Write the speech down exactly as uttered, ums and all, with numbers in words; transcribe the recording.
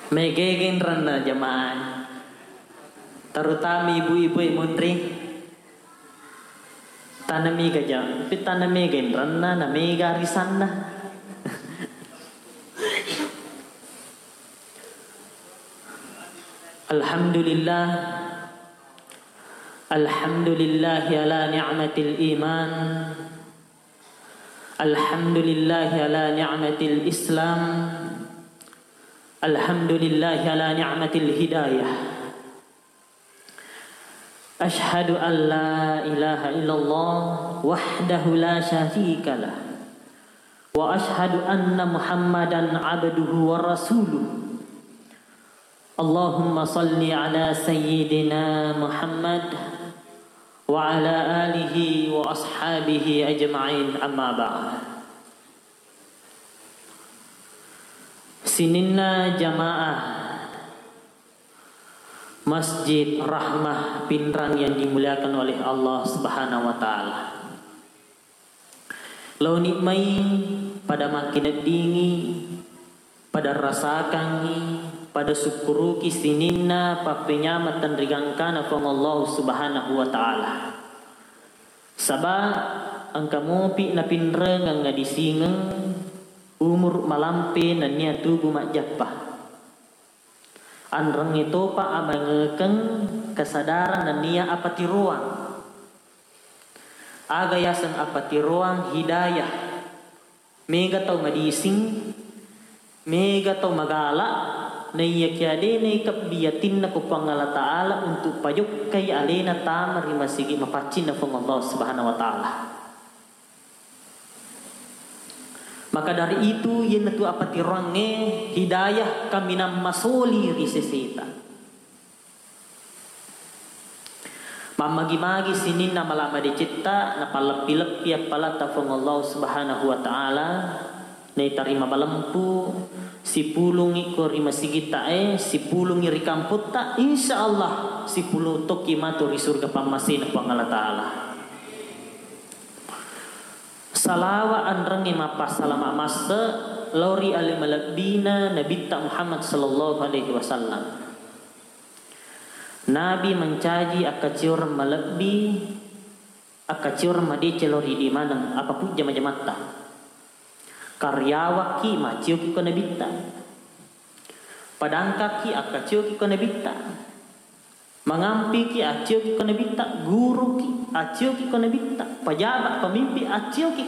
Mega genrenna jamaah, terutama ibu-ibu e munri. Tana mega ja, tapi tana mega genrenna, na mega arisanna. Alhamdulillah. Alhamdulillahi ala ni'matil iman. Alhamdulillahi ala ni'matil islam. Alhamdulillahi ala ni'matil hidayah. Asyhadu an la ilaha illallah wahdahu la syarika lah. Wa asyhadu anna Muhammadan abduhu wa rasuluh. Allahumma salli ala sayyidina Muhammad wa ala alihi wa ashabihi ajma'in, amma ba'd. Sininna jamaah Masjid Rahmah Pinrang yang dimuliakan oleh Allah Subhanahu wa Ta'ala. Laoni mai pada makkineddingi, pada rasakangngi, pada sukkuruki sininna pappenyameng tenrigangkana Puang Allah Subhanahu wa Ta'ala. Saba engka mopi napinrengeng adisingeng umur malampe nennia tubu majjappa. Anrengnge topa amangekeng kesadaran nennia apatiroang. Aga yaseng apatiroang? Hidayah. Mega tau madising, mega tau magala, naiyakiya de naikebbi atinna ko Puang Allah Ta'ala untuk pajokkai alena tama ri masigi mapaccinna Puang Allah Subhanahu wa Ta'ala. Maka dari itu, iyanatu apatiroangnge hidayah kaminang masoli ri seseta. Mammagi-magi sininna mala madecetta napalleppi-leppi appalatta Puang Allah Subhanahu wa Ta'ala, naitarima balempu, sipulungi ko ri masigitta e, sipulungi ri kampotta, insya Allah sipulung tokki matu ri surga pammasena Puang Allah Ta'ala. Salawa anrengnge mappassalama masse lao ri ale malebbina Nabitta Muhammad sallallahu alaihi wasallam. Nabi mancaji akkacioreng malebbi, akkacioreng madeceng lao ri idi maneng, apa pujja majamatta. Karyawanki macioki ko Nabitta. Padangkaki akkacioki ko Nabitta. Mangampiki accioki ko Nabitta, guruki accioki ko Nabitta, pajaba pamimpi accioki